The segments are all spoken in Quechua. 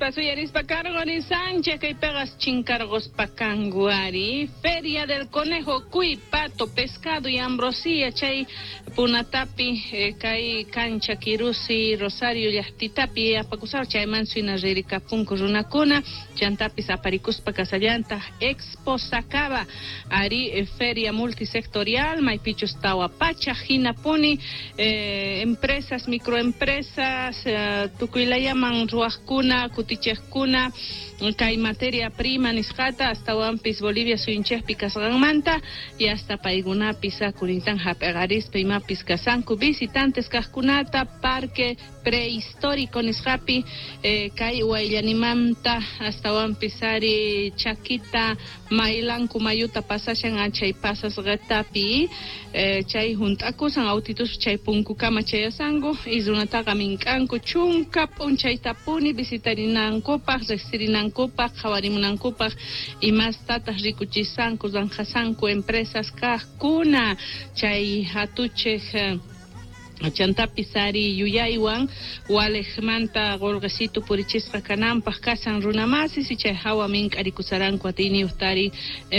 Nispa suyarispa karqurisanchik kaypiqa chinkarquspa kanku ari. Feria del Conejo, cuy, pato, pescado y ambrosía chay punatapi kay cancha Kirusi Rosario llaqtitapi apakusar chayman suyna ririkapunku runakuna chantapis aparikuspa kasallantaq Expo Sacaba ari feria multisectorial maypichus tawa pachaq hinapuni empresas, microempresas tukuylayaman ruwaqkuna kutichiqkuna kay materia prima nisqata astawanpis Bolivia suyunchikpi kasqanmanta y hasta paykunapis akurintan hap'iqarispa imapis kasanku visitantes kaqkunata parque prehistórico nisqapi kay wayllanimanta astawanpis ari chakita maylanku mayuta pasashan chay pasasqatapi chay hunt'akusan autitus chay punkukama chayasanku y runataqa mink'anku chunka p'unchaytapuni visitarinankupaq riqsirinankupaq qhawarimunankupaq imastataq rikuchisanku ranqasanku empresas kaqkuna chay hatuchiq chantapis ari yuyaywan waliqmanta qulqisitu purichisqa kananpaq kasan runamasis y chay hawa mink'arikusaranku atiyniyuqtari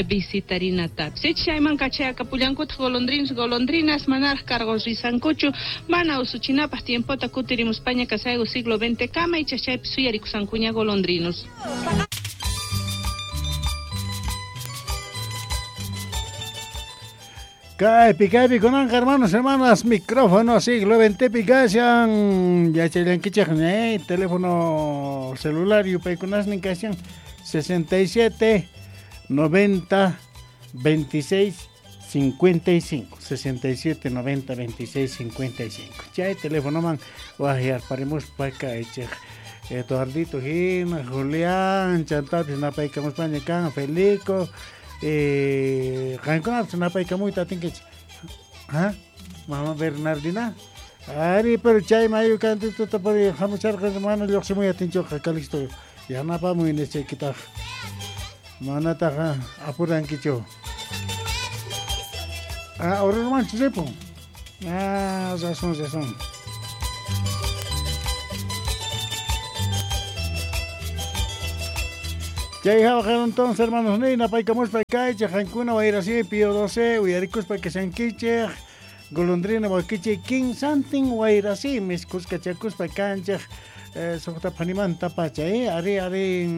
visitarinatapis. Chayman kachayakapullankutaq golondrinos golondrinas manaraq cargos risankuchu mana usuchinapaq tiempota kutirimuspaña kasayku siglo XX kama icha chaypi suyarikusankuña golondrinos. Kaypi, kaypi, kunanqa hermanos, hermanas, micrófono siglo XX kashan, yachaylankichik, teléfono celular yupaykunasnin kashan 67 90 26 55, 67 90 26 55. Chay teléfono man wajyarparimuspa kaychik Eduardito hina, Julián, chantapis napaykamuspaña kan, Felico, qankunapis napaykamuyta atinkichik. ¿Ah? Mama Bernardina. Ari, pero chay mayu kantituta puri hamucharqa mana lluqsimuy atinchuqa Calixto. Yanapamuy nishaykitaq. Manataqa apurankichu. Ah, Orurmanchu ripun. Ah, razón, razón. Chay hawa entonces, hermanos, napaykamuspa kaychik, qankuna wayrasi Pío 12, uyarikuspa kashankichik, golondrina wakichik, kinsantin wayrasi, miskuskachakuspa kanchik, suqta phanimanta pacha, ari, ari,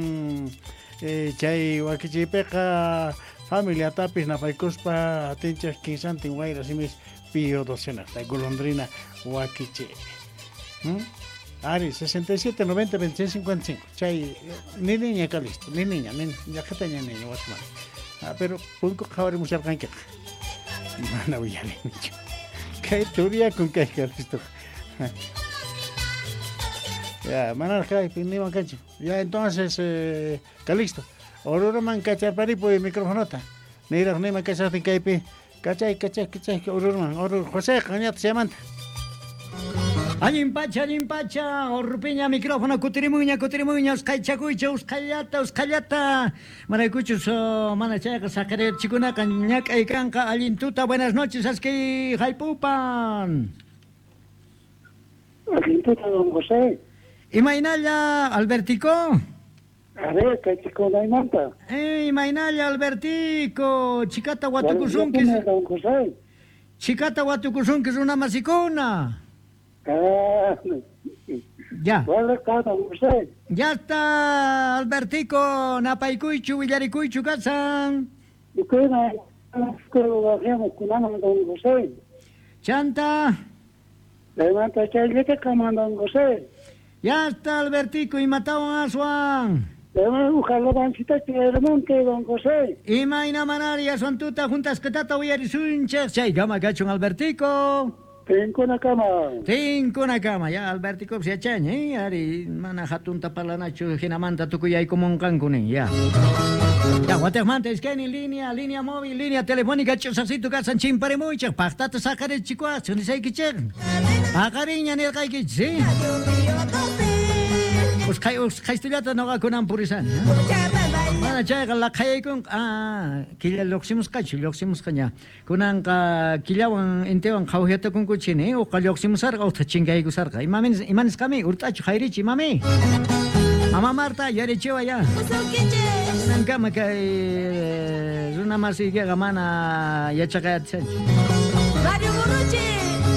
chay wakichiypiqa familiatapis napaykuspa atinchik kinsantin wayrasimis Pío 12 naqta, golondrina wakichik. Ari, 67, 90, 26, 55. Chay, ni niña Calixto, ni niña, ni llaqtaña niña, wasman. Ah, pero punku qhawarimusharqankiqa. Mana uyarinichu. Kay turiyakun kay Calixto. Ya, mana kaypi niman kanchu. Ya, entonces, Calixto, Oruruman kacharparipuy microfonota. Niraq niman kachaqtin kaypi. Kachay, kachay, kachay, Oruruman, Oruro, José, qañata chaymanta. Allin pacha, Orrupiña, micrófono, kutirimuña, kutirimuña, usqhaychakuycha, usqhayllata, usqhayllata. Maraykuchus, mana chayqa saqirachikunaqa ñak'ay kanqa, allin tuta, buenas noches, aski haypupan. Allin tuta, don José. Imaynalla, Albertico? A ver, kay chikunaymanta. Imaynalla, Albertico, chikata watukusunki. Don José. Chikata watukusunki runamasikuna. Ya. Ya está, Albertico, napaykuychu, willarikuychu kasan. Chanta. Ya está, Albertico, y matawan aswan. Imayna manari aswan tuta juntas ketata uyarisunchik, chay gama kachun, Albertico. Tinkuna kama. Tinkuna kama. Ya, Albertico, yachaña, ari, mana hatunta parlanachu, hinamanta tukuyaykumunqanku ya. Ya, wataqmanta iskaynin línea, línea móvil, línea telefónica, ch'usaqsitu kasan chimparimuychik, paqtata saqarichikuwaqchik, nisaykichik. Paqariña nirqaykichik, ¿sí? Usqhaystullata noqakunan purisani. Mana chayqa laqhayaykunqa, killa lluqsimusqachu, lluqsimusqaña. Kunanqa killawan intiwan qhawhiyatakunkuchini, uqa lluqsimusarqa, utqa chinkaykusarqa. Imanisqami, urt'achu, hayrichi, imami. Mama Marta, yarichiwa ya. Nankama kay runa masiykiqa mana yachaqayatsanchi. Mario Burruchi,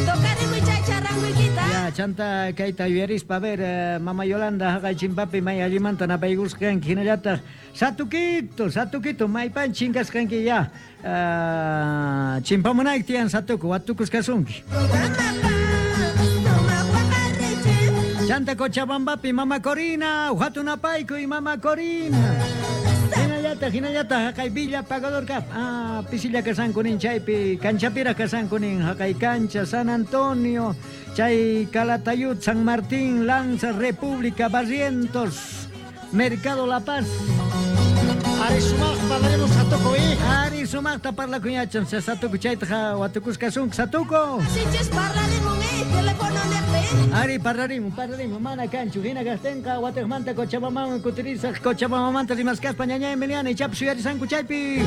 tocarimuy chay charanguykita. Ya, chanta kayta yuyarispa, a ver, mama Yolanda haqay chimpapi may allimanta napaykusqanki hinallataq Satukito, Satukito, maypan chinkasqanki ya. Chimpamunayki tiyan Satuku, watukusqasunki. Chanta Cochabambapi, mama Corina, hatunapaykuy mama Corina. Hinallataq, hinallataq, haqay Villa Pagador kap. Ah, pisilla kasankunin chaypi, kanchapira kasankunin, haqay cancha, San Antonio, chay Calatayud, San Martín, Lanza, República, Barrientos, Mercado La Paz. Ari sumaq parlaremos Satuku, eh. Ari sumaqta parlakuñachan, Satuku chaytaqa watukusqasunki, Satuku. Sichus parlarimun, teléfono nepe. Ari parlarimun, parlarimun, mana kanchu, hina kaqtinqa watiqmanta Cochabambaman kutirisaq, Cochabambamanta rimasqaspa ñañay Emiliana ichapas yuyarisanku chaypi.